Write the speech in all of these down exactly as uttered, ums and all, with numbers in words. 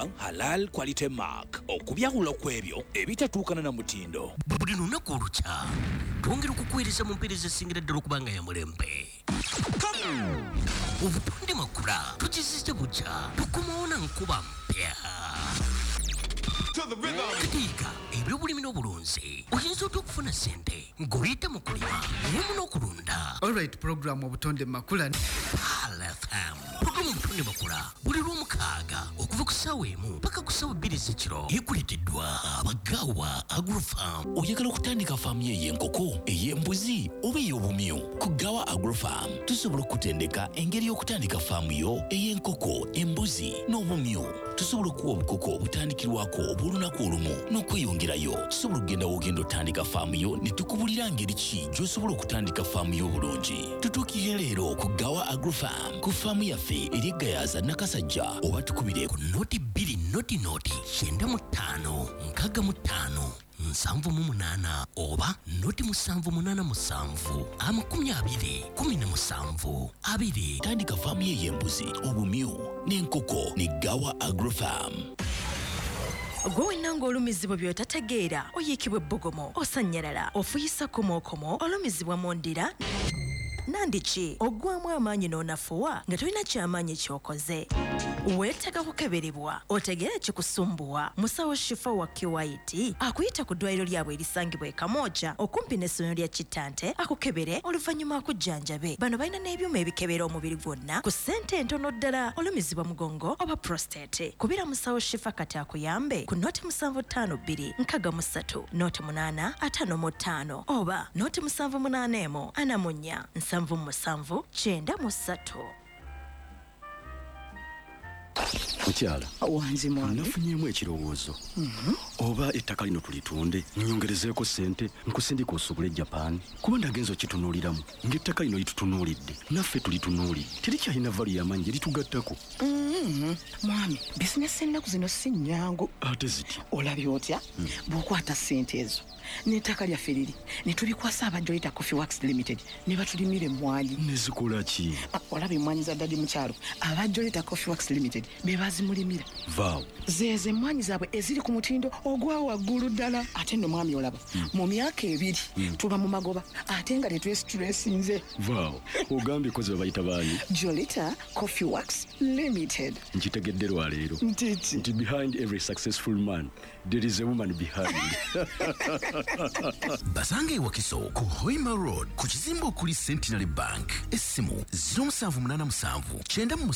Global Halal Quality Mark okubyawula ku ebyo ebitatuukana na mutindo. Buli lunaku olukya twongera okukuweereza mu mpeereza esingira ddala okuba nga ya mulembe. Obutonde Makula tukizizze bukya, tukomawo na nkuba mpya. Katiika ebyobulimi n'obulunzi, oyinza otya okufuna ssente ng'oyita mu kulima wamu n'okulunda? Alright, program Obutonde Makula. Pearl F M, programu Obutonde Makula buli lw'omukaaga okuva ku ssaawa emu paka ku ssaawa bbiri z'ekiro, ekuleeteddwa Abagawa Agrofarm. Oyagala okutandika faamu yo ey'enkoko, ey'embuzi oba ey'obumyu? Ku Gawa Agrofarm tusobola okutendeka engeri y'okutandika faamu yo ey'enkoko, embuzi n'obumyu. Tusobola okuwa obukoko obutandikirwako obw'olunaku olumu n'okweyongerayo. Tusobola okugenda w'ogenda otandika faamu yo ne tukubulira ngeri ki gy'osobola okutandika faamu yo obulungi. Tutuukire leero ku Gawa Agrofarm ku faamu yaffe eri Gayaza, Nakasajja, oba tukubire ku noti bbiri noti noti kyenda mu ttaano nkaaga mu ttaano nsanvu mu munaana oba noti musanvu munaana musanvu amakumi abiri kumi na musanvu abiri. Tandika faamu ye ey'embuzi, obumyu n'enkoko ne Gawa Agrofarm. Gwe wenna ng'olumizibwa by'otategeera, oyiikibwa ebbugumu, osannyalala, ofuyisa komookomo, olumizibwa mu ndira nandiki, oggwamu amaanyi n'onafuwa nga tolina kyamaanyi ky'okoze, weetaaga kukeberebwa otegeere ekikusumbuwa. Musawo Shifa wa Q I T akuyita ku ddwaliro lyabwe erisangibwa e Kamwokya okumpi n'essomero lya Kittante, akukebere oluvannyuma akujjanjabe. Bano balina n'ebyuma ebikebera omubiri gwonna ku ssente entono ddala. Olumizibwa mugongo oba prostate, kubira musawo Shifa kati akuyambe ku noti musanvu ttaano bbiri nkaaga mu ssatu noti munaana ataano mu ttaano oba noti musanvu munaana emu ana mu nnya nsanvu mu musanvu kyenda mu ssatu. Mukyala. Wanzi, mwami. Nafunyeemu ekirowoozo. Oba ettaka lino tulitunde, nyongerezeeko ssente, nkusindika osobole Japan, kuba ndagenza okitunuuliramu ng'ettaka lino litutunuulidde, naffe tulitunuulidde, terikyalina value y'amaanyi gye litugattako. Mhm. Mwami, bizinesi ennaku zino si nnyangu. Ate ziti? Olabye otya bw'okwata ssente ezo n'ettaka lyaffe liri ne tulikwasa aba Jolita Coffee Works Limited ne batulimira emmwanyi? Nezikola ki? Ah, olaba emmwanyi za daddy mu kyalo, aba Jolita Coffee Works Limited be bazimulimira. Vaawo. Zeezo emmwanyi zaabwe eziri ku mutindo ogwa waggulu ddala. Ate nno mwami, olaba mu myaka ebiri tuba mu magoba ate nga tetwesitulesinze. Vaawo. Ogambye kozi babayita baani? Jolita Coffee Works Limited. Nkitegedde lwaleero. Ntiki? Nti behind every successful man there is a woman behind. Basanga ewakiso ku Hoima Road ku kizimbe okuli Centenary Bank. Essimu zero seven eight seven nine seven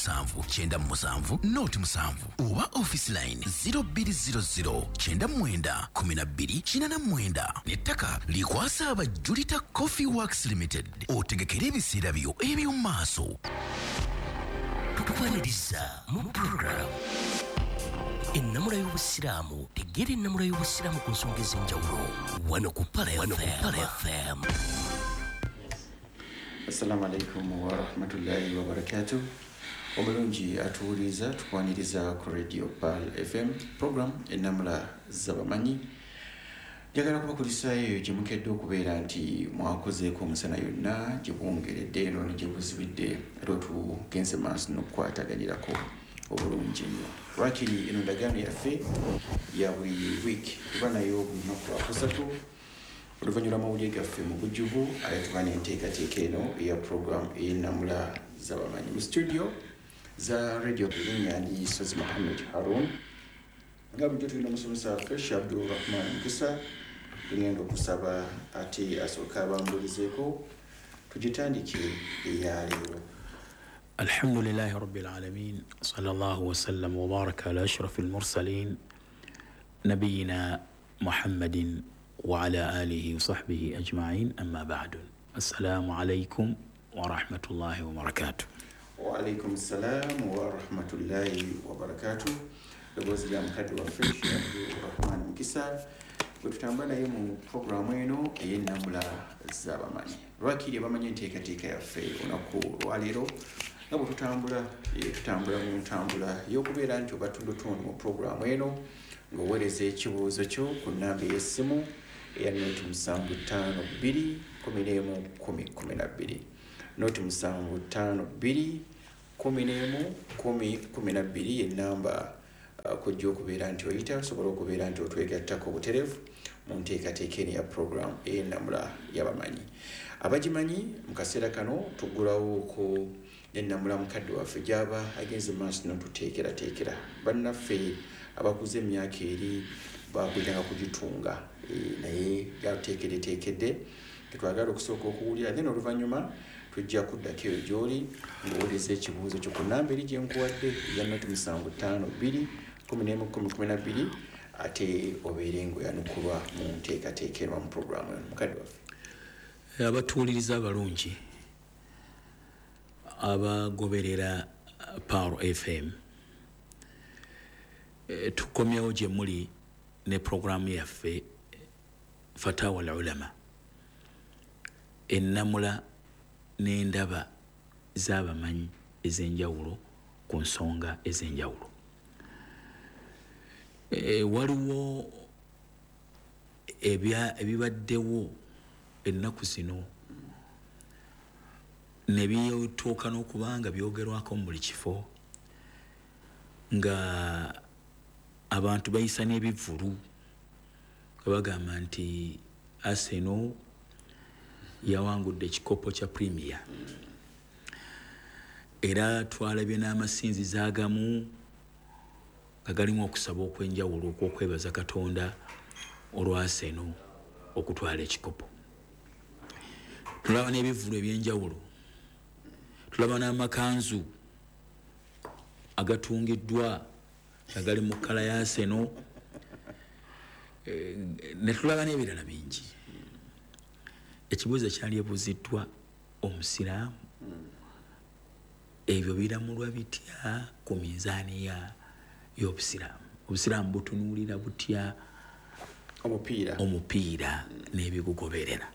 nine seven noti musanvu oba office line zero two zero zero nine nine twelve eighty-nine. N'ettaka likwasa aba Julita Coffee Works Limited, otegekere ebiseera byo eby'omu maaso. Tukwaniriza mu program Ennamula y'Obusiraamu. Tegeera ennamula y'Obusiraamu ku nsonga ez'enjawulo wano ku Pearl F M. Assalamu alaikum warahmatullahi wabarakatuh. Omulungi atuwuliriza, tukwaniriza ku Radio Pearl F M, program Ennamula Z'abamanyi. Njagala kubakulisaayo eyo gye mukedde okubeera nti mwakozeeko omusana yonna gye bwongeredde eno ne gye buzibidde, ate otugenze maaso n'okukwataganirako obulungi ennyo. Lwakiri eno ndagaano yaffe ya buli wiiki, tuba nayo buli lunaku lwakusatu oluvannyuma lw'amawulire gaffe mu bujjuvu, ate tuba n'enteekateeka eno eya program ey'Ennamula Z'abamanyi. Mu studio za radio, erinnya ndi Sozi Muhammed Harun. Nga bulijjo tulina omusomesa waffe Sheikh Abdulrahman Mukisa. Tugenda okusaba ate asooke abambulizeeko tugitandike eyaleero. الحمد لله رب العالمين، صلى الله وسلم وبارك على أشرف المرسلين نبينا محمد وعلى آله وصحبه أجمعين، أما بعد، السلام عليكم ورحمة الله وبركاته. Waalaikum salam warahmatullahi wabarakatuh. Ddoboozi lya mukadde waffe Sheikh Abdulrahman Mukisa bwe tutambula naye mu puroguramu eno ey'Ennamula Z'abamanyi. Lwakiri abamanyi enteekateeka yaffe olunaku lwaleero nga bwe tutambula, eh, tutambula mu ntambula y'okubeera nti obatundutundu mu puroguramu eno ng'oweereza ekibuuzo kyo ku nnamba ey'essimu eya noti musanvu ttaano bbiri kumi n'emu kumi kumi na bbiri, noti musanvu ttaano bbiri kumi n'emu kumi kumi na bbiri, y'ennamba. Kujja okubeera nti oyita osobola okubeera nti otwegattako obutereevu mu nteekateeka eno ya program ey'ennamula y'abamanyi. Abagimanyi mu kaseera kano tuggulawoko n'ennamula mukadde waffe gy'aba agenze mu maaso n'otuteekerateekera. Bannaffe abakuze emyaka eri bakuliranga kugitunga, naye gyatuteekereteekedde tetwagala okusooka okuwulira, then oluvannyuma tujja kuddako eyo gy'oli ng'owuliriza ekibuuzo kyo ku nnamba eri gye nkuwadde eya noti musanvu ttaano bbiri kumi n'emu kkumi kumi na bbiri, ate obeere ng'oyanukulwa mu nteekateeka eno mu puroguramu eno. Mukadde waffe, abatuwuliriza abalungi abagoberera Power F M, tukomyewo gye muli ne puroguramu yaffe Fatawa al-Ulama, ennamula n'endaba z'abamanyi ez'enjawulo ku nsonga ez'enjawulo. E, waliwo ebibaddewo ennaku zino ne bituuka n'okuba nga byogerwako mu buli kifo, nga abantu bayisa n'ebivvulu nga bagamba nti Arsenal yawangudde ekikopo kya Premier, era twalabye n'amasinzizo agamu nga galimu okusaba okw'enjawulo okw'okwebaza Katonda olwa Arsenal okutwala ekikopo. Tulaba n'ebivvulu eby'enjawulo, tulaba n'amakanzu agatungiddwa nga gali mu kkala ya Arsenal, ne tulaba n'ebirala bingi. Ekibuuzo kyali ebuuziddwa omusiraamu, ebyo biramulwa bitya ku minzaani y'obusiraamu? Obusiraamu butunuulira butya omupiira omupiira n'ebigugoberera?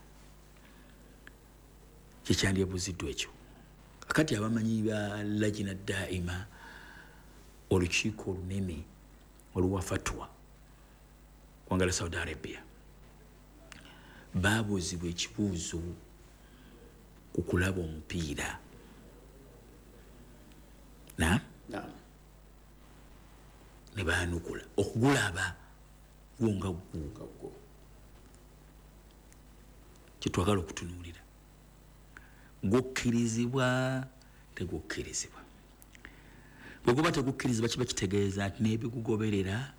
Kyekyali ebuuziddwa ekyo. Kakati abamanyi ba Lajina Daima, olukiiko olunene oluwa fatwa kwangala Saudi Arabia, babuuzibwa ekibuuzo ku kulaba omupiira. Na? Ne baanukula okugulaba gwo nga gwo kyetwagala okutunuulira, gukkirizibwa tegukkirizibwa. Bwe guba tegukkirizibwa kiba kitegeeza nti n'ebigugoberera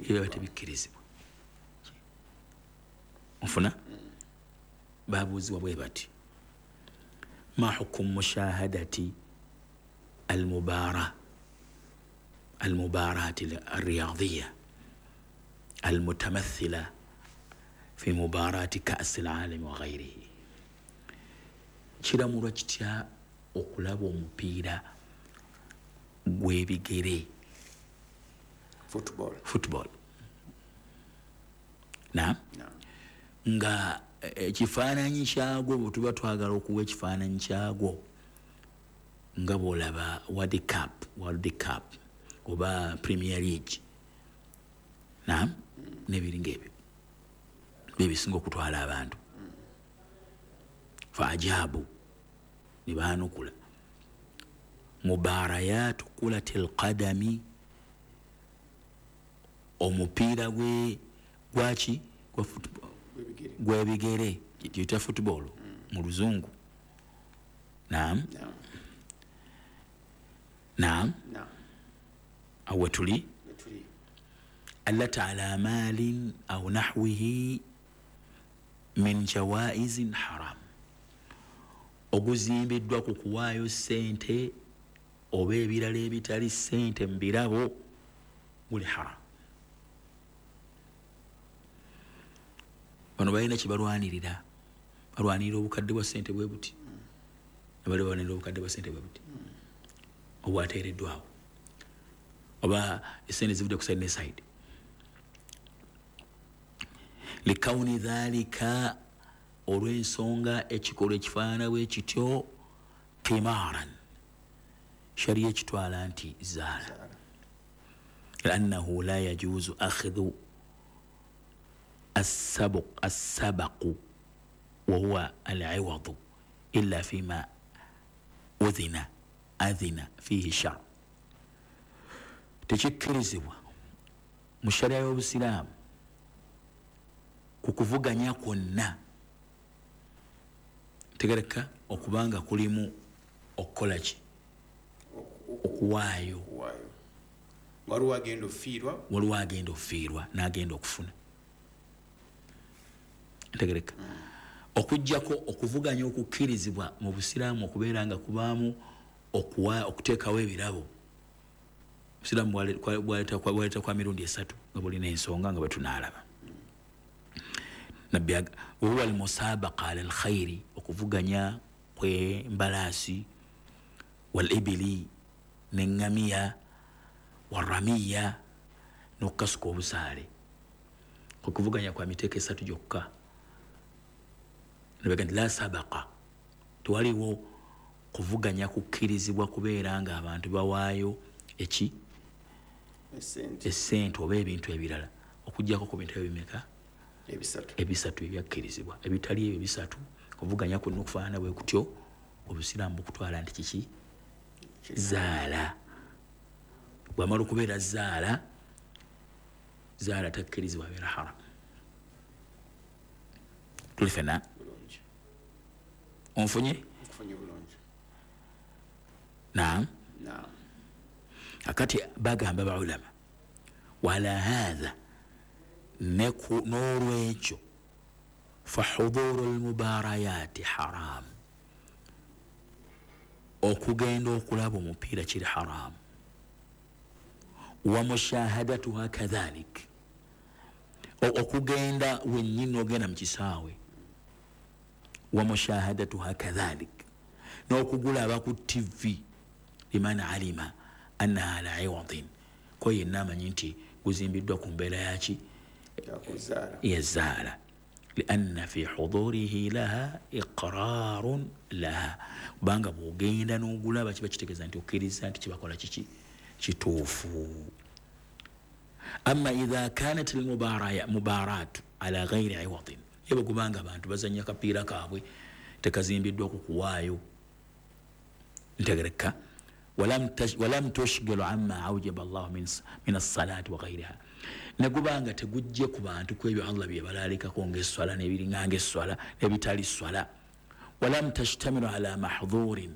biba tebikkirizibwa. Nfuna? Babuuzibwa bwe bati: ma hukumu mushahadati almubara almubarati alriyadhiya almutamathila fi mubarati kasi alalami wa ghairihi. Kiramulwa kitya okulaba omupiira gw'ebigere, football football na nga ekifaananyi kyagwo bwe tuba twagala okuwa ekifaananyi kyagwo nga bw'olaba World Cup, World Cup oba Premier League, na n'ebiringa ebyo byebisinga okutwala abantu. Faajabu, ne baanukula mubarayatu kulatil qadami, omupiira gwe gwaki gwa football gw'ebigere gyeyita football mu luzungu. Naam, naam, awe tuli allati ala malin au nahwihi min jawaizin haram, oguzimbiddwa ku kuwaayo ssente oba ebirala ebitali ssente mu birabo guli haram. Bano balina kye balwanirira, balwanirira obukadde bwa ssente bwe buti, abali balwanirira obukadde bwa ssente bwe buti obwateereddwawo, oba essente zivudde ku side ne side. Likawuni dhalika, olw'ensonga ekikolwa ekifaanana bwe kityo timaran, sharia ekitwala nti zaala, liannahu la yajuzu akhdhu السبق السبق وهو العوض إلا فيما أذن أذن فيه الشرع. Tekikkirizibwa mu sharia y'obusiraamu ku kuvuganya kwonna tegereka okubanga kulimu okukola ki okuwaayo waliwo agenda ofiirwa waliwo agenda ofiirwa n'agenda okufuna ntegereka mm. Okuggyako okuvuganya okukkirizibwa mu busiraamu okubeera nga kubaamu okuwa okuteekawo ebirabo. Obusiraamu bwaleeta kwa mirundi esatu nga bulina ensonga nga bwe tunaalaba. Nabbi wahuwa almusabaqa ala alkhairi, okuvuganya kw'embalaasi, walibili n'eŋŋamiya, waramiya n'okukasuka obusaale. Okuvuganya kwa miteeko esatu gyokka. Nabaga nti la sabaqa, tewaliwo kuvuganya kukkirizibwa kubeera nga abantu bawaayo eki essente oba ebintu ebirala okuggyako ku bintu ebimeka ebisatu ebisatu ebyakkirizibwa. Ebitali ebyo bisatu kuvuganya kwonna okufaanana bwe kutyo obusiraamu bukutwala nti kiki zaala. Bw'amala okubeera zaala, zaala takkirizibwa abeera haram. Tuli ffenna onfunye? Naam. Akati bagamba baulama wala hadha n'olwekyo fahudhuru almubarayati haram, okugenda okulaba omupiira kiri haram, wa mushahadatuha kadhalik, okugenda wennyini ogenda mu kisaawe, wa mushahadatuha kadhalik, n'okugulaba ku T V liman alima annaha ala iwadin, ko yenna amanyi nti guzimbiddwa ku mbeera yaki yazaala, lianna fi hudurihi laha iqrarun laha, kubanga bw'ogenda n'ogulaba kiba kitegeeza nti okkiriza nti kibakola kiki kituufu. Amma idha kanat almubaratu ala ghairi iwadin, ye kubanga abantu bazannya kapiira kaabwe tekazimbiddwa ku kuwaayo ntegereka, walam tushgilu amma aujaba Allah min as-salati wa ghayriha, negubanga tegujje ku bantu kwebyo Allah bye balaalikako ng'esswala n'ebiringa ng'esswala n'ebitali swala, walam tashtamilu ala mahdhurin,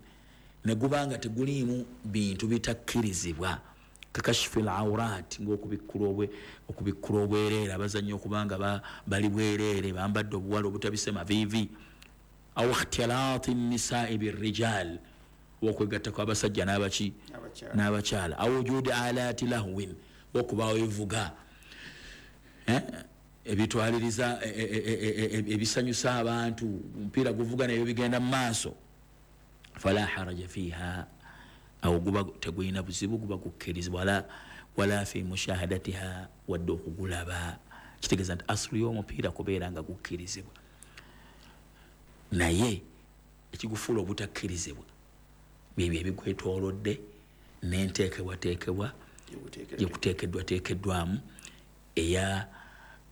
negubanga teguliimu bintu bitakkirizibwa kakashfi al-awrat, ng'okubikkula okubikkula obwereere, abazannyi okubanga bali bwereere bambadde obuwala obutabise maviivi, aw ikhtilaati nnisaa'i birrijal, okwegatta kw'abasajja n'abaki n'abakyala, aw wujudi alaati lahwin, okubaawo ebivuga ebitwaliriza ebisanyusa abantu, omupiira guvuga nayo bigenda mu maaso, fala haraja fiiha, awo guba tegulina buzibu, guba gukkirizibwa, wala fi mushahadatiha, wadde okugulaba. Kitegeeza nti asulu y'omupiira kubeera nga gukkirizibwa, naye ekigufuula obutakkirizibwa byebyo ebigwetoolodde n'enteekebwateekebwa gye kuteekeddwateekeddwamu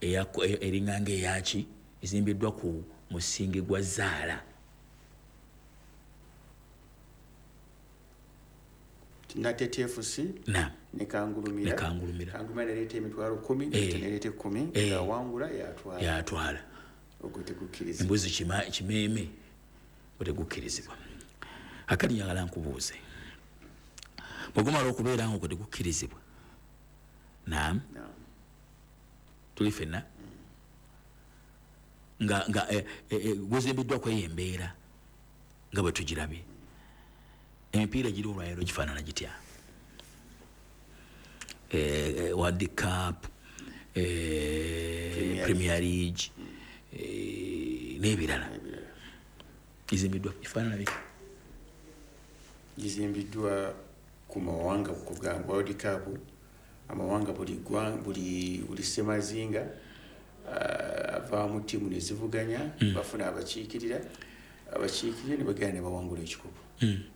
eringa ng'eyaki ezimbiddwa ku musingi gwa zaala. Natete F C ne Kangulumira ne Kangulumira Kangulumira neleeta emitwalo kumi neleeta ekkumi yawangula yatwala yatwala ogwo tegukkirizibwa. Embuzi kimeeme otegukkirizibwa. Akati njagala nkubuuze, bwegumala okubeera nga ogwo tegukkirizibwa, naam tuli ffenna nga nga guzimbiddwa kweyo embeera nga bwe tugirabye, emipiira egiri olwaleero gifaanana gitya? World Cup, Premier League n'ebirala gizimbiddwa gifaanana bitya? Gizimbiddwa ku mawanga, kugamba World Cup amawanga buli buli buli ssemazinga avaamu ttiimu ne zivuganya, bafuna abakiikirira abakiikirira ne bagenda ne bawangula ekikopo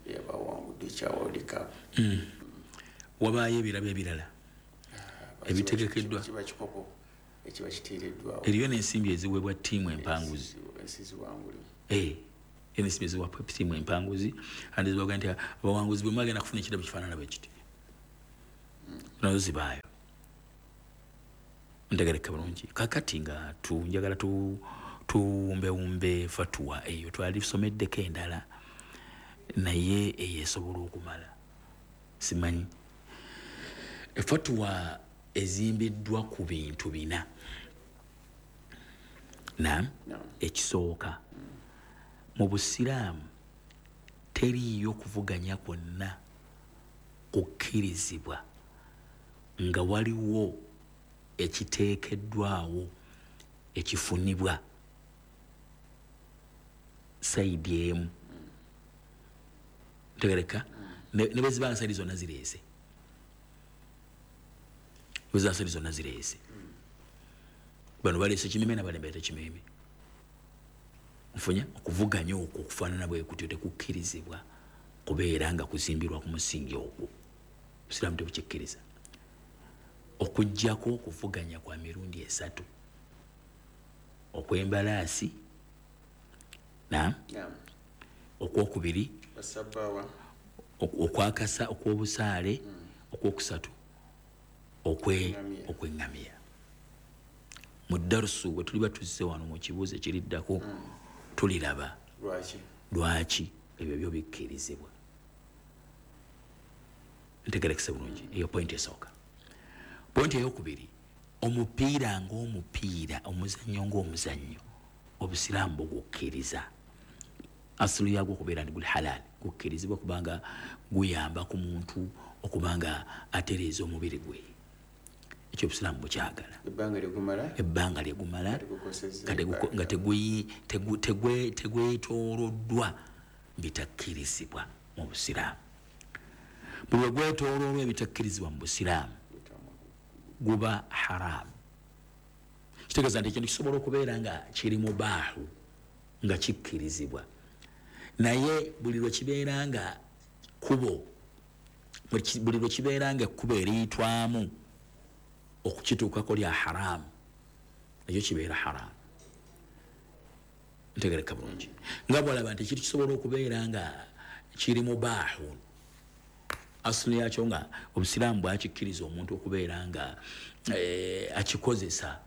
yabawangudde ekya World Cup. Wabaayo ebirabo ebirala ebitegekeddwa, kiba kikopo ekiba kiteereddwawo, eriyo n'ensimbi eziweebwa ttiimu empanguzi, ensimbi eziweebwa ttiimu empanguzi, andi zibaga nti abawanguzi bwe mwagenda kufuna ekirabo kifaanana bwe kiti. Nazo zibaayo. Ntegereka bulungi. Kakati nga tu njagala tu tuwumbewumbe fatuwa eyo twalisomeddeko endala naye eyo esobola okumala. Simanyi. Efatuwa ezimbiddwa ku bintu bina. Naam, ekisooka mu busiraamu teriiyo kuvuganya kwonna kukkirizibwa nga waliwo ekiteekeddwawo ekifunibwa sayidi emu. Ntegereka ne bwe ziba nga sayidi zonna zireese, bwe ziba sayidi zonna zireese, bano baleese kimeme n'abalembe kimeme. Nfunya okuvuganya okwo okufaanana bwe kutyo tekukkirizibwa kubeera nga kuzimbirwa ku musingi ogwo. Obusiraamu tebukikkiriza. Okuggyako okuvuganya kwa mirundi esatu: okw'embalaasi, naam, okwokubiri okwakasa okw'obusaale, okwokusatu okw'eŋŋamiya. Mu darusu bwe tuliba tuzze wano mu kibuuzo ekiriddako tuliraba lwaki ebyo byo bikkirizibwa. Ntegerekese bulungi eyo pointi esooka. Pointi eyokubiri, omupiira ng'omupiira, omuzannyo ng'omuzannyo, obusiraamu bugukkiriza. Asulu yagwo okubeera nti guli halaali, gukkirizibwa kubanga guyamba ku muntu okubanga atereeza omubiri gwe. Ekyo obusiraamu bukyagala. Ebbanga lyegumala nga tegwetooloddwa bitakkirizibwa mu busiraamu. Buli lwe gwetooloolwa ebitakkirizibwa mu busiraamu guba haramu. Kitegeeza nti ekintu kisobola okubeera nga kiri mubaahu, nga kikkirizibwa, naye buli lwe kibeera nga kkubo, buli lwe kibeera nga ekkubo eriyitwamu okukituukako lya haramu, ekyo kibeera haramu. Ntegereka bulungi. Nga bw'olaba nti ekintu kisobola okubeera nga kiri mubaahu, asulu yakyo nga obusiraamu bwakikkiriza omuntu okubeera nga eh, akikozesa,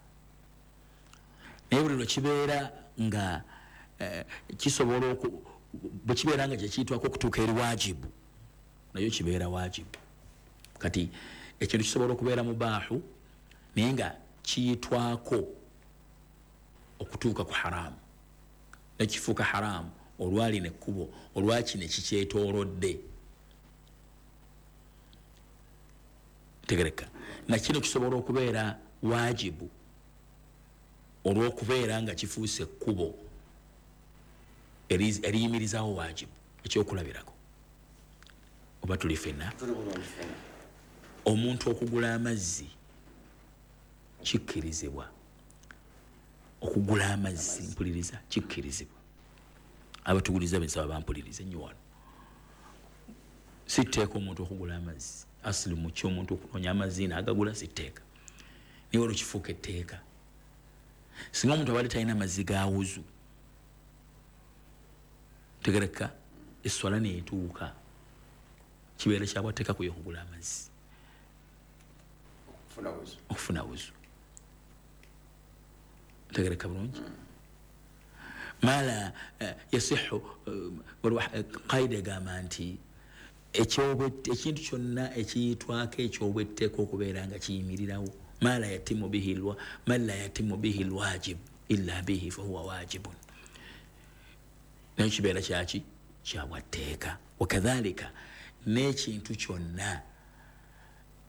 naye buli lwe kibeera nga eh, kisobola bwe kibeera nga kyekiyitwako okutuuka eri waajibu, nayo kibeera waajibu. Kati ekintu kisobola okubeera mubaahu naye nga kiyitwako okutuuka ku haramu, nekifuuka haramu olwalina ekkubo olwakino ekikyetoolodde. Tegereka. Na kino kisobola okubeera waajibu olw'okubeera nga kifuuse ekkubo eriyimirizaawo waajibu. Ekyokulabirako, oba tuli ffenna, omuntu okugula amazzi kikkirizibwa. Okugula amazzi, mpuliriza, kikkirizibwa. Abatuguliza bensaba bampulirize nnyo wano. Si tteeka omuntu okugula amazzi, asili mu kyo omuntu okunoonya amazzi n'agagula si tteeka, naye olwo kifuuka etteeka. Singa omuntu abadde talina mazzi ga wuzu, tegereka, esswala n'etuuka, kibeera kyabwatteeka kuye okugula amazzi okufuna wuzu. Ntegereka bulungi. Mala yasihu qaida egamba nti ekintu kyonna ekiyitwako ekyobwetteeka okubeera nga kiyimirirawo, ma la yatimu bihi ma la yatimu bihi lwajib illa bihi fahuwa wajibun, naye kibeera kyaki kyabwatteeka. Wakadhalika n'ekintu kyonna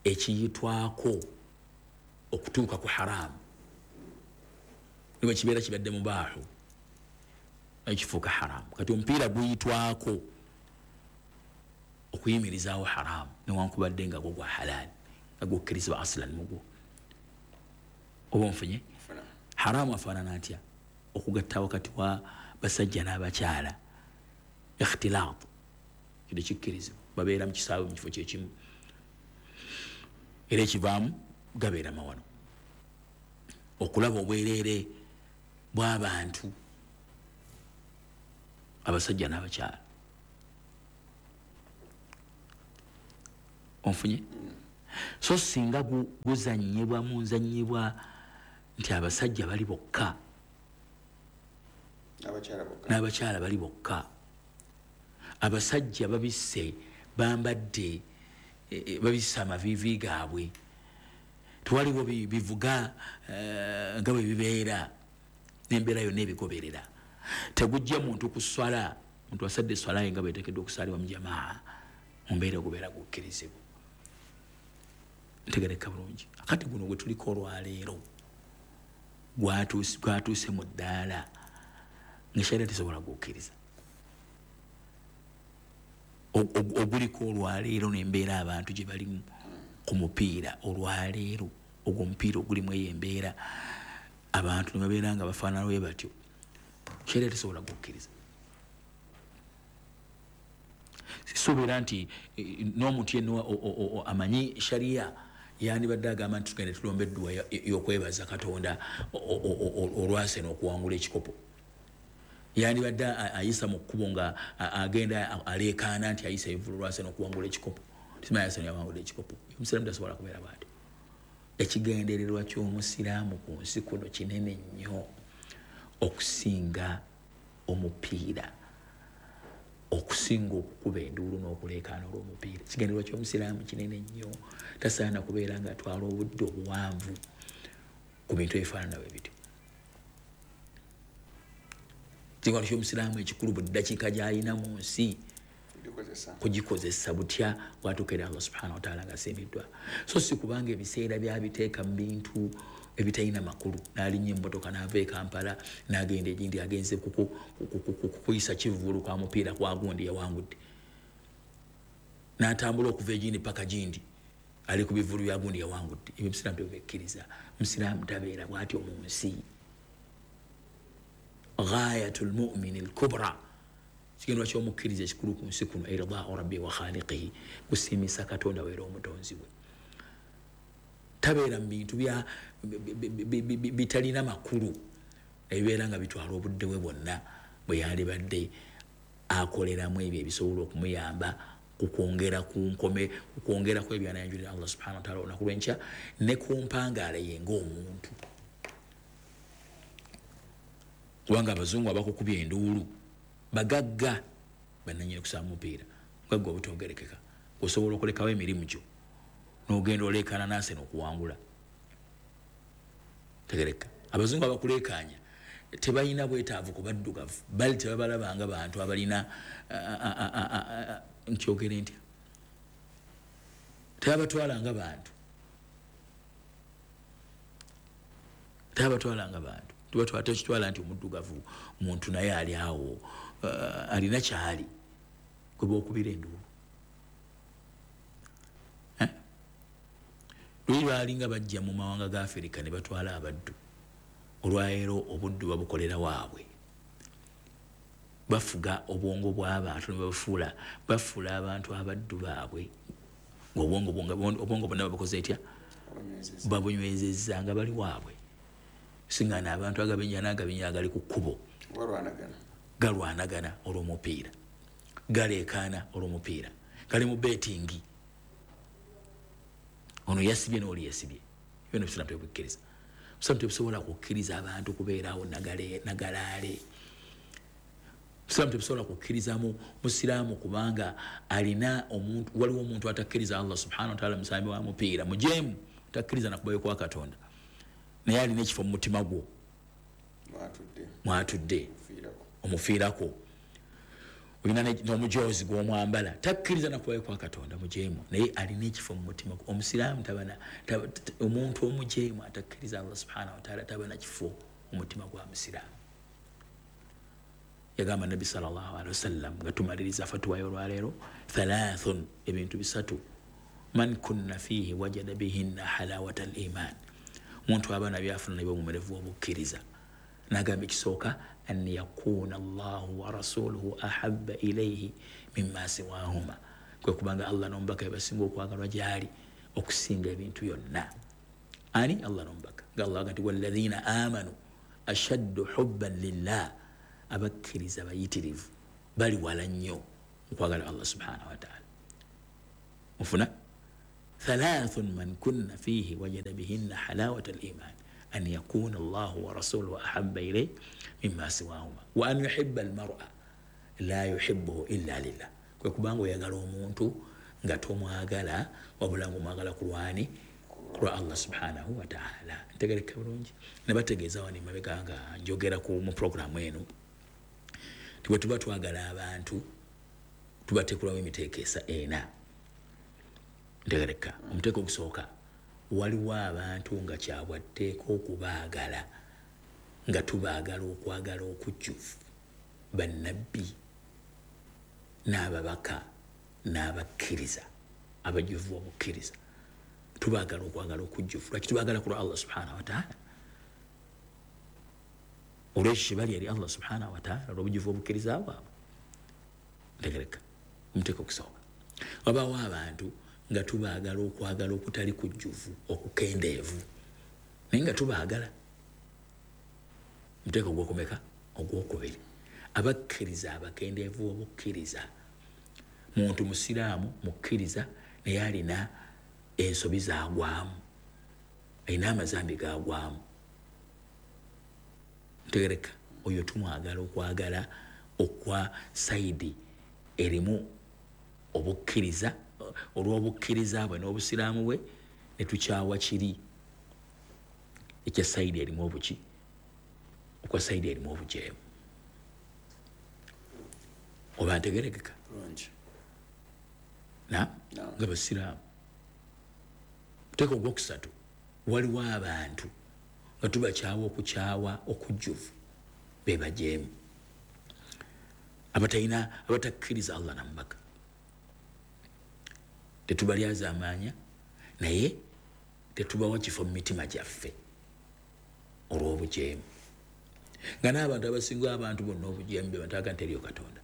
ekiyitwako okutuuka ku haramu niwe kibeera kibadde mubaahu, naye kifuuka haramu. Kati omupiira guyitwako okuyimirizaawo haramu newankubadde nga gwo gwa halaali, nga gukkirizibwa asilan mugwo. Oba onfunye? Haramu afaanana atya? Okugatta wakati wa basajja n'abakyala, ikhtilaat, kino kikkirizibwa, babeera mu kisaawe mu kifo kyekimu, era ekivaamu gabeera mawano. Okulaba obwereere bw'abantu abasajja n'abakyala. Onfunye? So singa guzannyibwa mu nzannyibwa nti abasajja bali bokka n'abakyala bali bokka, abasajja babisse bambadde babisse amaviivi gaabwe, tewaliwo bivuga nga bwe bibeera n'embeera yonna ebigoberera. Tegujja muntu ku swala, muntu asadde swala ye nga bweteekeddwa okusaalibwa mu jamaa, mu mbeera ogubeera gukkirizibwa. Ntegereka bulungi. Akati guno gwe tuliko olwaleero gwatuuse mu ddaala nga sharia tesobola gukkiriza. Oguliko olwaleero n'embeera abantu gye balimu ku mupiira olwaleero, ogwo omupiira ogulimu eyo embeera abantu ne babeera nga bafaanana bwe batyo, sharia tesobola gukkiriza. Sisuubira nti n'omuntu yenna amanyi sharia yandibadde agamba nti tugende tulombe edduwa y'okwebaza Katonda olwase n'okuwangula ekikopo. Yandibadde ayisa mu kkubo nga agenda aleekaana nti ayisa evvulu olwase n'okuwangula ekikopo. Simanyi ayisa yawangula ekikopo. Omusiraamu tasobola kubeera bw'atyo. Ekigendererwa ky'omusiraamu ku nsi kuno kinene nnyo okusinga omupiira, okusinga okukuba enduulu n'okuleekaana olw'omupiira. Ekigendererwa ky'omusiraamu kinene nnyo, tasaana kubeera ng'atwala obudde obuwanvu ku bintu ebifaanana bwe bityo. Ekigendererwa ky'omusiraamu ekikulu buli ddakiika gy'alina mu nsi kugikozesa butya bw'atuuka eri Allah subhanahu wa ta'ala ng'asiimiddwa. So si kubanga ebiseera byabiteeka mu bintu ebitalina makulu, n'alinnya emmotoka n'ava e Kampala n'agenda egindi agenze kukuyisa kivvulu kwa mupiira kwa gundi yawangudde, n'atambula okuva egindi paka gindi ali ku bivvulu bya gundi yawangudde. Ebyo omusiraamu tebikkiriza. Omusiraamu tabeera bw'atyo mu nsi. Ghayatul mu'mini al-kubra, kigendwa ky'omukkiriza ekikulu ku nsi kuno, irdaa'u rabbi wa khaliqihi, kusiimisa Katonda we era omutonzi we. Tabeera mu bintu bya bitalina makulu ebibeera nga bitwala obudde bwe bwonna bwe yandibadde akoleramu ebyo ebisobola okumuyamba kukwongera ku nkome, kukwongera ku ebyo anayanjulira Allah subhanahu wa ta'ala olunaku lw'enkya ne ku mpangaala ye ng'omuntu. Kubanga abazungu abakukubya enduulu bagagga bannannyini kusamba mupiira, mugagga obutogerekeka, osobola okulekawo emirimu gyo n'ogenda oleekaana n'ase n'okuwangula. Tegereka. Abazungu abakuleekaanya tebalina bwetaavu ku baddugavu, bali tebabalabanga bantu abalina nkyogere ntya, tebabatwalanga bantu, tebabatwalanga bantu. Tubatwala tekitwala nti omuddugavu muntu naye ali awo alina kyali gwe bookubira enduulu. Luli baalinga bajja mu mawanga ga Afirika ne batwala abaddu. Olwaleero obuddu babukolera waabwe, bafuga obwongo bw'abantu ne babufuula, bafuula abantu abaddu baabwe ng'obwongo obwongo bonna babukoze etya, babunywezezza nga bali waabwe. Singana abantu agabenya n'agabenya agali ku kkubo galwanagana olw'omupiira, galeekaana olw'omupiira, gali mu beetingi, ono yasibye n'oli yasibye. Ebyo obusiraamu tebukkiriza. Obusiraamu tebusobola kukkiriza abantu kubeerawo nagalaale. Obusiraamu tebusobola kukkiriza mu musiraamu kubanga alina omuntu, waliwo omuntu atakkiriza Allah subhanahu wa ta'ala musambi wa mupiira mujeemu, takkiriza nakubayo kwa Katonda, naye alina ekifo mu mutima gwo mwatudde omufiirako, olina n'omujoozi gw'omwambala, takkiriza nakubayo kwa Katonda mujeemu, naye alina ekifo mu mutima gwo. Omusiraamu tabana, omuntu omujeemu atakkiriza Allah subhanahu wa ta'ala tabana kifo mu mutima gwa musiraamu. Yagamba Nabbi sallallahu alaihi wasallam nga tumaliriza fatuwa y'olwaleero, thalathun, ebintu bisatu, man kunna fihi wajada bihinna halawata al-iman, omuntu aba nabyafuna nabyo obumerevu obukkiriza. N'agamba ekisooka, an yakuna Allahu wa rasuluhu ahabba ilayhi mimma siwahuma, kwe kubanga Allah n'omubaka be basinga okwagalwa gy'ali okusinga ebintu byonna. Ani? Allah n'omubaka. Nga Allah agamba nti walladhina amanu ashaddu hubban lillah, abakkiriza bayitirivu bali wala nnyo okwagala Allah subhanahu wa ta'ala. Mufuna? Thalathun man kunna fihi wajada bihinna halawata al-iman an yakuna Allahu wa rasuluhu ahabba ilayhi mimma siwahuma wa an yuhibba al-mar'a la yuhibbuhu illa lillah. Kwe kubanga oyagala omuntu nga tomwagala wabula ng'omwagala ku lwani kulwa Allah subhanahu wa ta'ala. Ntegereka bulungi. Nabategeeza wano emabega nga njogera ku mu programu eno nti bwe tuba twagala abantu tubateekulawo emiteeko esa ena. Ntegereka omuteeko ogusooka, waliwo abantu nga kyabwatteeka okubaagala nga tubaagala okwagala okujjuvu, bannabbi n'ababaka n'abakkiriza abajjuvu obukkiriza, tubaagala okwagala okujjuvu. Lwaki tubaagala? Kulwa Allah subhanahu wa ta'ala, olwekyo kibali eri Allah subhanahu wa ta'ala olw'obujjuvu obukkiriza bwabwe. Ntegereka omuteeko ogusooka. Wabaawo abantu nga tubaagala okwagala okutali kujjuvu, okukendeevu, naye nga tubaagala. Omuteeko ogwokumeka? Ogwokubiri, abakkiriza abakendeevu obukkiriza. Muntu musiraamu mukkiriza naye alina ensobi zaagwamu, alina amazambi gaagwamu. Ntegereka oyo tumwagala okwagala okwa saidi erimu obukkiriza, olw'obukkiriza bwe n'obusiraamu bwe, ne tukyawa kiri ekya saidi erimu obuki, okwa saidi erimu obujeemu. Oba ntegerekeka na nga basiraamu. Muteeko ogwokusatu, waliwo abantu nga tubakyawa okukyawa okujjuvu, be bajeemu, abatalina abatakkiriza Allah na mubaka. Tetubalyaza amaanya naye tetubawa kifo mu mitima gyaffe olw'obujeemu. Nga n'abantu abasinga abantu bonna obujeemu be bantu aga nti eriyo Katonda.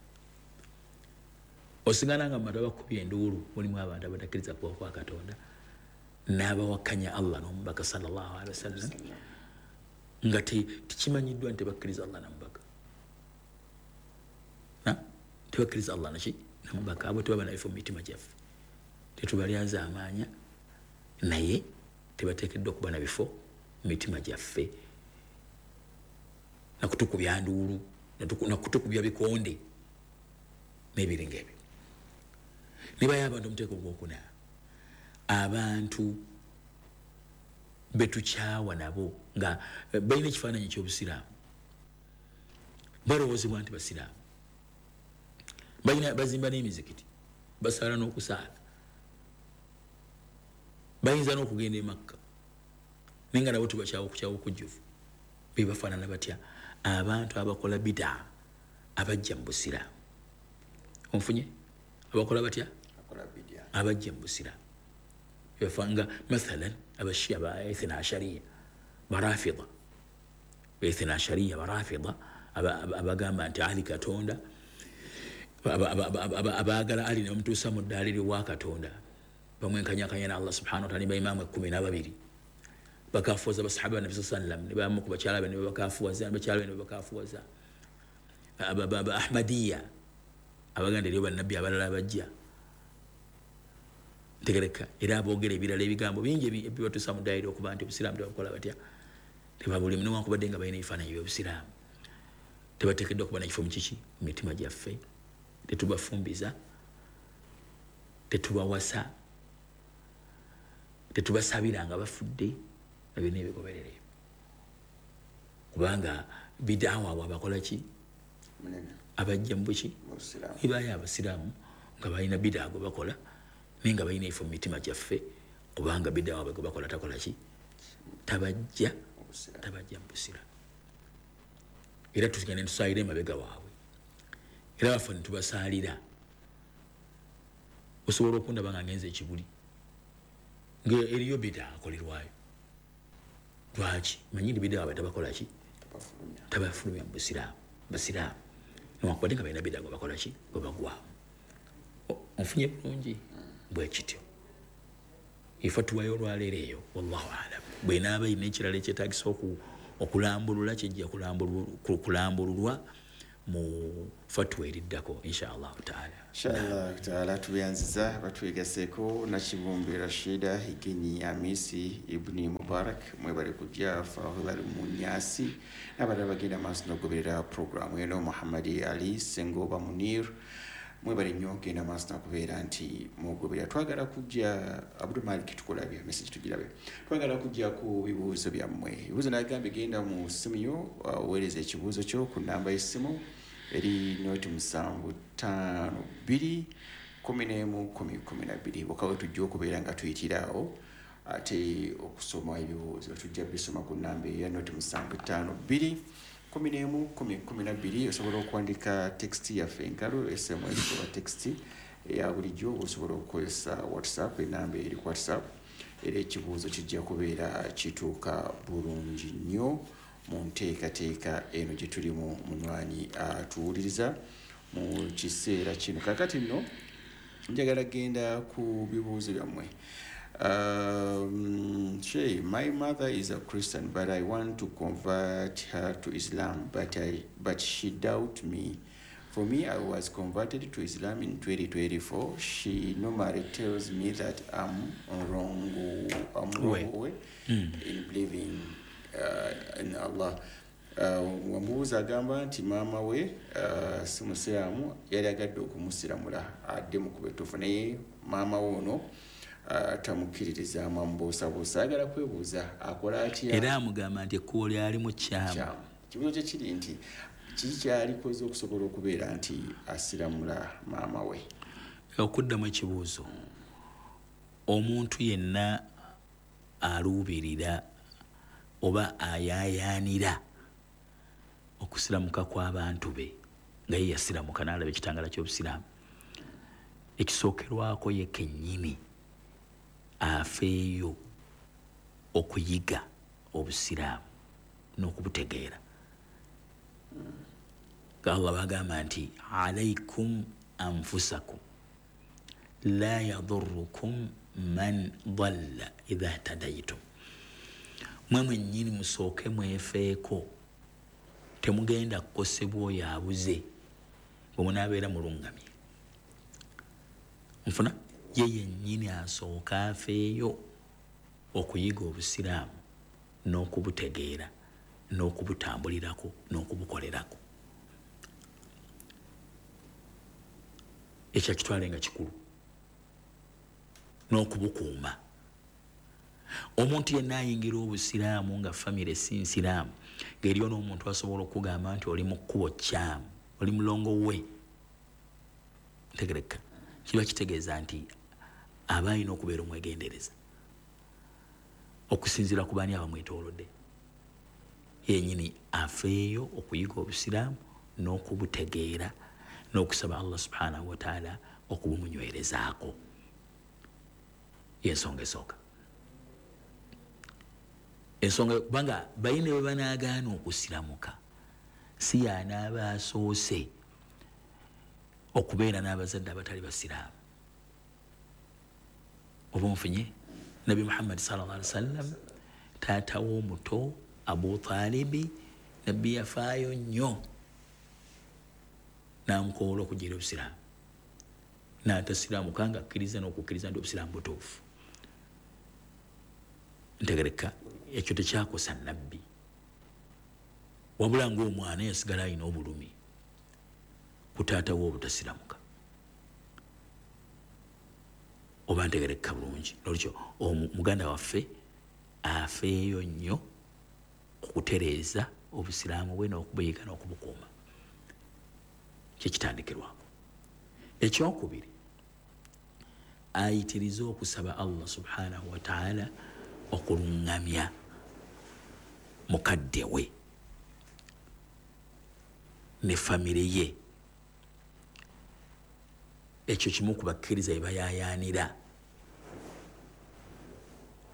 Osingana nga mu bantu abakubye enduulu mulimu abantu abatakkiriza kubaho kwa Katonda n'abawakanya Allah n'omubaka sallallahu alaihi wasallam, nga tekimanyiddwa nti tebakkiriza Allah na mubaka. Na tebakkiriza Allah naki na mubaka, abo tebaba na bifo mu mitima gyaffe. Tetubalyaza amaanya naye tebateekeddwa okuba na bifo mu mitima gyaffe, nakutukubya nduulu, nakutukubya bikonde n'ebiringa ebyo. Nibayo abantu omuteeko ogwokuna, abantu betukyawa nabo nga balina ekifaananyi eky'obusiraamu, balowoozebwa nti basiraamu, balina bazimba n'emizikiti, basaala n'okusaala, bayinza n'okugenda e Makka, naye nga nabo tubakyawa okukyawa okujjuvu. Be bafaanana batya? Abantu abakola bidaa abajja mu busiraamu. Onfunye? Abakola batya? Abajja mu busiraamu. Bafanga mathalan abashia ba ithna ashariya barafida, ithna ashariya barafida, abagamba nti Ali Katonda, abaagala Ali ne bamutuusa mu ddaala wa Katonda, bamwenkanyakanya na Allah subhanahu wa ta'ala, ne baimaamu ekkumi n'ababiri bakafuwaza basahaba Nabi sallallahu alaihi wasallam, ne bamu ku bakyala be ne bakafuwaza, bakyala be ne bakafuwaza. Aba Ahmadiyya abaganda eriyo bannabbi abalala abajja. Ntegereka era aboogera ebirala ebigambo bingi ebibatuusa mu ddaala okuba nti obusiraamu tebabukola batya, tebabulimu, newankubadde nga balina ebifaananyi by'obusiraamu. Tebateekeddwa kuba na kifo mu kiki mu mitima gyaffe. Tetubafumbiza, tetubawasa, tetubasabira nga bafudde, nabyo n'ebigoberera ebyo. Kubanga bidaawa abo abakola ki? Abajja mu buki? Nibayo abasiraamu nga balina bidaa gwe bakola, naye nga balina ebifo mu mitima gyaffe, kubanga bidaa waabwe gwe bakola takola ki? Tabajja, tabajja mu busiraamu. Era tugenda ne tusaalira emabega waabwe, era baffe ne tubasaalira. Osobola okundaba nga ngenze ekibuli nga eriyo bidaa akolerwayo. Lwaki? Manyi nti bidaa waabwe tabakola ki? Tabafulumya mu busiraamu. Basiraamu newankubadde nga balina bidaa gwe bakola ki? Gwe bagwamu. Onfunye bulungi? Bwe kityo ifatuwa y'olwaleero eyo, wallahu alam. Bw'enaaba erina ekirala ekyetaagisa okulambulula, kijja kulambululwa Mu fatwa eriddako insha Allahu taala. Inshallah taala. Tuyanziza batwegaseko Nakibumbi Rashida Higenyi Amisi Ibni Mubarak, mwebale kujja Fahulal Munyasi n'abalala bagenda maaso n'okugoberera programu eno, Muhammadi Ali Sengoba Munir, mwebale nnyo genda maaso n'okubeera nti mugoberera. Twagala kujja Abdul Malik, tukulabye message tugirabe. Twagala kujja ku bibuuzo byammwe. Ebibuuzo nagambye genda mu ssimu yo oweereze ekibuuzo kyo ku namba y'essimu eri noti musanvu ttaano bbiri kumi n'emu kumi kumi na bbiri. Wakawe tujja okubeera nga tuyitiraawo ate okusoma ebibuuzo tujja bisoma ku namba eya noti musanvu ttaano bbiri kumi n'emu kumi kumi na bbiri. Osobola okuwandika text yaffe enkalu, S M S oba text eya bulijjo, osobola okukozesa WhatsApp, enamba eri ku WhatsApp, era ekibuuzo kijja kubeera kituuka bulungi nnyo mu nteekateeka eno gye tulimu. Munywanyi atuwuliriza mu kiseera kino. Kaakati nno njagala genda ku bibuuzo byammwe. Um, Shay, my mother is a Christian, but I want to convert her to Islam, but I but she doubt me. For me, I was converted to Islam in twenty twenty-four. She normally tells me that I'm wrong, I'm wrong way mm. in believing uh, in Allah. Wamubuuza agamba nti maama we uh, si musiraamu, yali agadde okumusiramula adde mu kubetuufu, naye maama we ono Uh, tamukkiririza, amubuusabuusa, ayagala kwebuuza akola atya. Era amugamba nti ekkubo lyali mu kyamu. Kibuuzo kye kiri nti kiki kyalikoze okusobola okubeera nti asiramula maama we? Okuddamu ekibuuzo, omuntu yenna aluubirira oba ayaayaanira okusiramuka kw'abantu be nga ye yasiramuka n'alaba ekitangala ky'obusiraamu, ekisookerwako ye kennyini afeeyo okuyiga obusiraamu n'okubutegeera. Allah bagamba nti alaikum anfusakum la yadurrukum man dalla idha tadaytum, mwe mwennyini musooke mwefeeko, temugenda kukosebwa oyo abuze bwe munaabeera mulungamye. Nfuna ye yennyini asooka afeeyo okuyiga obusiraamu n'okubutegeera n'okubutambulirako n'okubukolerako. Ekyo akitwale nga kikulu n'okubukuuma. Omuntu yenna ayingira obusiraamu nga famire si nsiraamu, ng'eriyo n'omuntu asobola okugamba nti oli mu kkubo kyamu, oli mulongo we, ntegereka, kiba kitegeeza nti aba alina okubeera omwegendereza okusinziira ku baani abamwetoolodde. Yennyini afeeyo okuyiga obusiraamu n'okubutegeera n'okusaba Allah subhanahu wa taala okubumunywerezaako. Y'ensonga esooka. Ensonga kubanga balina bwe banaagaana okusiramuka, si y'anaaba asoose okubeera n'abazadde abatali basiraamu. Oba onfunye? Nabbi Muhammad sallallahu alaihi wasallam taata w'omuto Abu Talibi, nabbi yafaayo nnyo n'amukoola okugira obusiraamu, n'atasiraamuka nga akkiriza n'okukkiriza nti obusiraamu butuufu. Ntegereka ekyo tekyakosa nabbi, wabula ng'omwana yasigala alina obulumi ku taata we obutasiramuka. Oba ntegereka bulungi. Nolwekyo muganda waffe afeeyo nnyo okutereeza obusiraamu bwe n'okubuyiga n'okubukuuma, kyekitandikirwako. Ekyokubiri, ayitirize okusaba Allah subhanahu wa taala okuluŋŋamya mukadde we ne famire ye. Ekyo kimu ku bakkiriza bye bayaayaanira.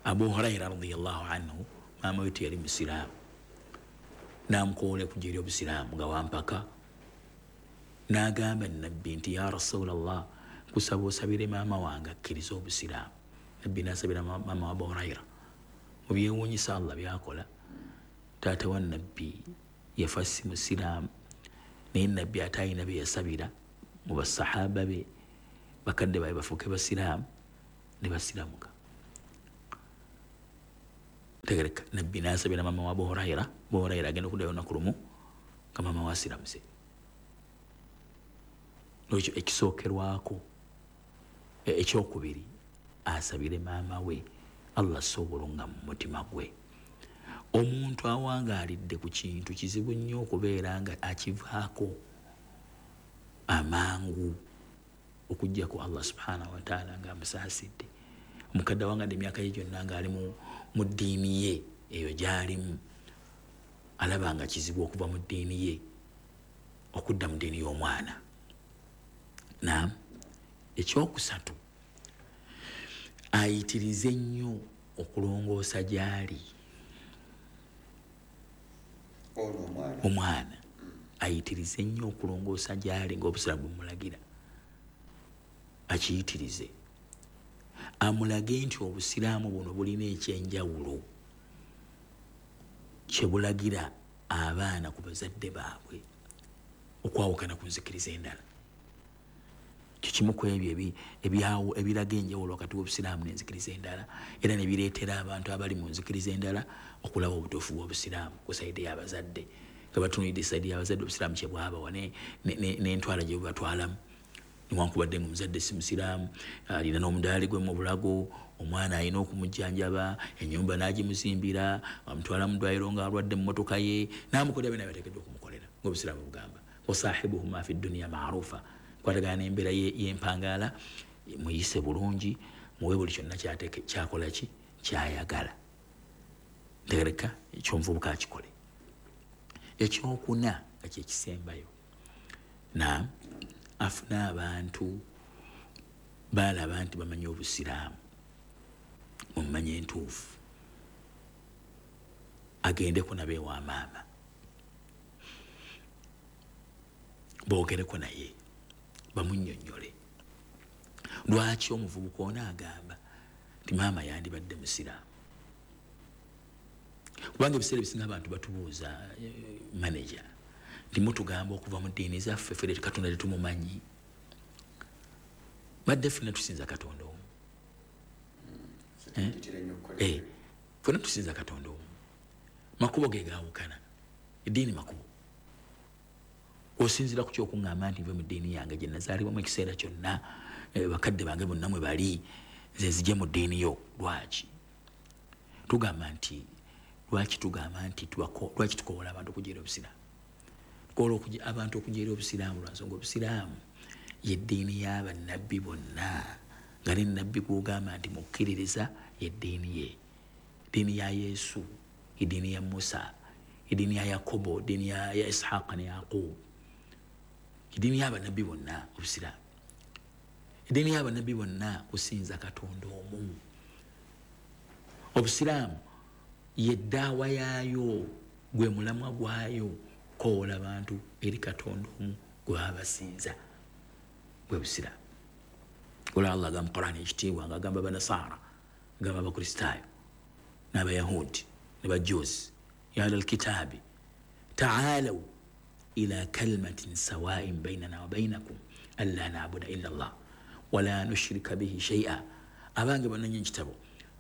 Abu Huraira radiyallahu anhu maama we teyali musiraamu, n'amukoola okujja eri obusiraamu nga wampaka, n'agamba nabbi nti ya Rasulallah, nkusaba osabire maama wange akkirize obusiraamu. Nabbi n'asabira maama wa Abu Huraira. Mu byewuunyisa Allah byakola, taata wa nabbi yafa si musiraamu, Naye nabbi ate alina bye yasabira mu basahaba be, bakadde babe bafuuke basiraamu ne basiramuka. Tegereka nabbi n'asabira mama wa Abu Huraira, Abu Huraira agenda okuddayo olunaku lumu nga mama we asiramuse. Ekyo ekisookerwako. Ekyokubiri, asabire maama we Allah asse obulungamu mu mutima gwe. Omuntu awangaalidde ku kintu kizibu nnyo okubeera nga akivaako amangu okuggyako Allah subhanahu wa ta'ala ng'amusaasidde. Omukadde awangadde emyaka ye gyonna ng'ali mu ddiini ye eyo gy'alimu, alaba nga kizibu okuva mu ddiini ye okudda mu ddiini y'omwana. Naam. Ekyokusatu, ayitirize nnyo okulongoosa gy'ali omwana, ayitirize nnyo okulongoosa gy'ali ng'obusiraamu bumulagira, akiyitirize, amulage nti obusiraamu buno bulina ekyenjawulo kye bulagira abaana ku bazadde baabwe okwawukana ku nzikiriza endala. Kikimu ku ebyo ebyawo ebiraga enjawulo wakati w'obusiraamu n'enzikiriza endala, era ne bireetera abantu abali mu nzikiriza endala okulaba obutuufu bw'obusiraamu ku sayidi y'abazadde, nga batunuulidde sayidi y'abazadde obusiraamu kye bwabawa n'entwala gye bubatwalamu. Newankubadde ng'omuzadde si musiraamu, alina n'omudaali gwe mu bulago, omwana alina okumujjanjaba, ennyumba n'agimuzimbira, amutwala mu ddwaliro ng'alwadde mu mmotoka ye, n'amukolera byonna byateekeddwa okumukolera ng'obusiraamu bugamba. Wasahibuhuma fi dduniya maarufa, kwatagana n'embeera y'empangaala, muyise bulungi, muwe buli kyonna kyakola ki kyayagala. Ntegereka ekyomuvubuka akikole. Ekyokuna nga kyekisembayo, na afuna abantu balaba nti bamanyi obusiraamu, mumanye entuufu, agendeko nabo ewa maama, boogereko naye, bamunnyonnyole lwaki omuvubuka ono agamba nti maama yandibadde musiraamu. Kubanga ebiseera ebisinga abantu batubuuza manager nti mutugamba okuva mu ddiini zaffe ffe Katonda tetumumanyi, badde ffenna tusinza Katonda omu, ffenna tusinza Katonda omu, makubo ge gaawukana, eddiini makubo. Osinziira ku kyokuŋŋamba nti nve mu ddiini yange gye nazaalibwamu ekiseera kyonna, bakadde bange bonna mwe bali, nze nzije mu ddiini yo. Lwaki tugamba nti lwaki tugamba nti lwaki tukoola abantu okujeera obusiraamu? Tukoola abantu okujeera obusiraamu lwa nsonga obusiraamu ye ddiini y'abannabbi bonna, nga ne nnabbi gw'ogamba nti mukkiririza ye ddiini ye, ddiini ya Yesu, eddiini ya Musa, eddiini ya Yakobo, eddiini ya Ishaaka ne Yakubu, eddiini y'abannabbi bonna obusiraamu. Eddiini y'abannabbi bonna kusinza Katonda omu. Obusiraamu ye ddaawa yaayo, gwe mulamwa gwayo, koola abantu eri Katonda omu gwe baba basinza, gwe busiraamu. Olwa Allah agamba mu Qur'ani ekitiibwa ng'agamba Abanasaara, agamba Abakristaayo n'Abayahudi ne Bajuusi, ya ahlal kitaabi taalaw ila kalimatin sawain bainana wa bainakum alla naabuda illa Allah wala nushrika bihi shay'a. Abange bannannyini kitabo,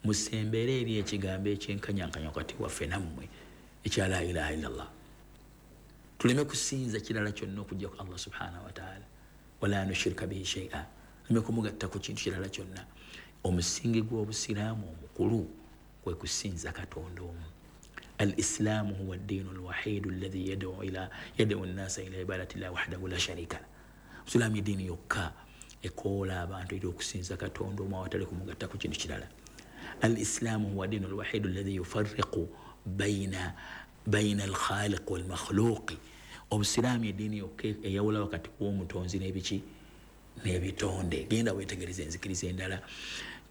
musembere eri ekigambo ekyenkanyankanya wakati waffe nammwe ekya la ilaha illa Allah, tuleme kusinza kirala kyonna okuggyako Allah subhanahu wa ta'ala, wala nushrika bihi shay'a, tuleme kumugatta ku kintu kirala kyonna. Omusingi gw'obusiraamu omukulu kwe kusinza Katonda omu. Al-Islaamu huwa ad-diinu al-wahiidu alladhi yad'u ila yad'u an-naasa ila ibadati llahi wahdahu la sharika lah. Obusiraamu eddiini yokka ekoola abantu eri okusinza Katonda omu awatali kumugatta ku kintu kirala. Al-Islaamu huwa ad-diinu al-wahiidu alladhi yufarriqu bayna bayna al-khaliq wal-makhluqi. Obusiraamu eddiini yokka eyawula wakati w'omutonzi n'ebiki n'ebitonde. Genda weetegereze enzikiriza endala,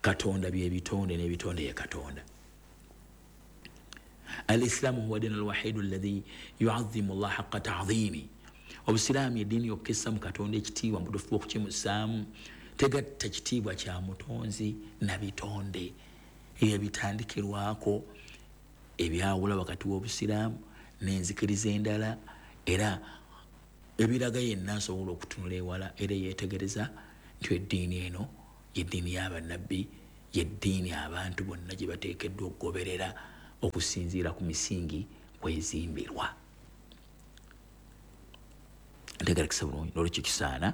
Katonda by'ebitonde n'ebitonde ye Katonda. Al-Islaamu huwa ad-diinu al-wahiidu alladhi yu'azzimu Allah haqqa ta'dhimi. Obusiraamu eddiini yokka essa mu Katonda ekitiibwa mu butuufu bw'okukimussaamu, tegatta kitiibwa kya mutonzi na bitonde. Ebyo bitandikirwako ebyawula wakati w'obusiraamu n'enzikiriza endala, era Ebiraga yenna asobola okutunula ewala era yeetegereza nti eddiini eno yeddiini y'abannabbi, yeddiini abantu bonna gye bateekeddwa okugoberera okusinziira ku misingi kwezimbirwa. Ntegerekesa bulungi. Nolwekyo kisaana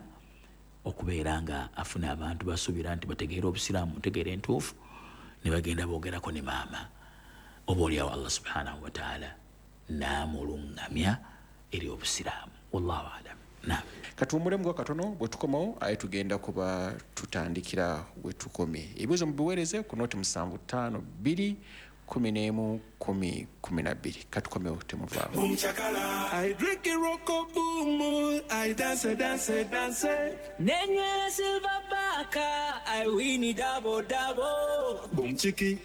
okubeera nga afuna abantu basuubira nti bategeera obusiraamu, ntegeera entuufu, ne bagenda boogerako ne maama, oba oliawo Allah subhanahu wataala n'amuluŋŋamya eri obusiraamu. Wallahu alam. Naam. Katuwummulemu katono, bwe tukomawo aye tugenda kuba tutandikira we tukomye. Ebibuuzo mubiweereze ku noti musanvu ttaano bbiri kumi n'emu kumi kumi na bbiri. Katukomewo, temuvaawo. Boom chakala, I drink it roko boom, I dance dance dance. Nenywera silver baka, I win it double double. Boom chiki,